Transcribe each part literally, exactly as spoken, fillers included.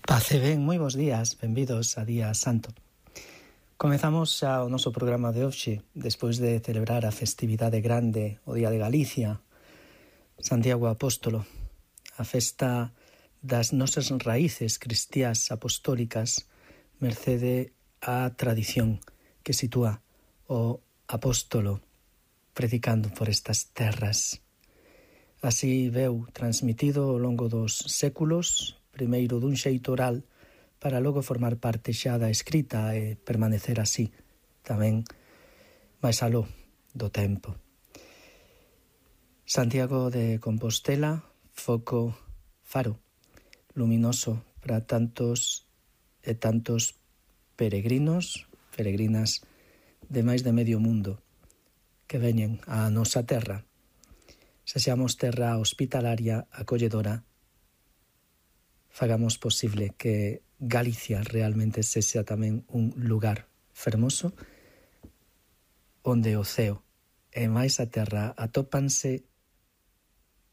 Pace ben, moi bons días, benvidos a Día Santo. Comezamos xa o noso programa de hoxe, despois de celebrar a festividade grande, o Día de Galicia, Santiago Apóstolo, a festa das nosas raíces cristiás apostólicas, mercede á tradición que sitúa o apóstolo predicando por estas terras. Así veu transmitido ao longo dos séculos, primeiro dun xeito oral, para logo formar parte xa da escrita e permanecer así, tamén máis aló do tempo. Santiago de Compostela, foco, faro, luminoso para tantos e tantos peregrinos, peregrinas de máis de medio mundo que veñen á nosa terra. Sexamos terra hospitalaria, acolledora, fagamos posible que Galicia realmente sexa tamén un lugar fermoso onde o ceo e máis a terra atópanse,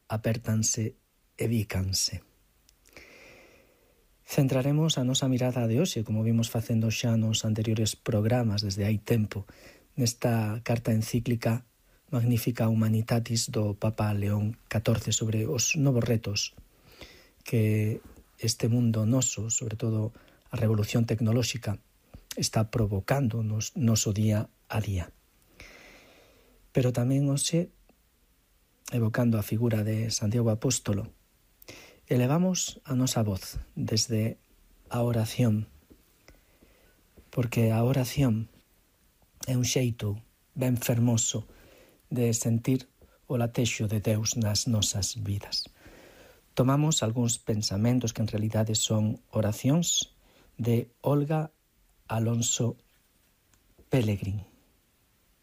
apértanse e bícanse. Centraremos a nosa mirada de hoxe, como vimos facendo xa nos anteriores programas desde hai tempo, nesta carta encíclica Magnificat Humanitatis do Papa León catorce sobre os novos retos que este mundo noso, sobre todo a revolución tecnolóxica, está provocando nos noso día a día. Pero tamén hoxe, evocando a figura de Santiago Apóstolo, elevamos a nosa voz desde a oración, porque a oración é un xeito ben fermoso de sentir o latexo de Deus nas nosas vidas. Tomamos algúns pensamentos que en realidade son oracións de Olga Alonso Pelegrín.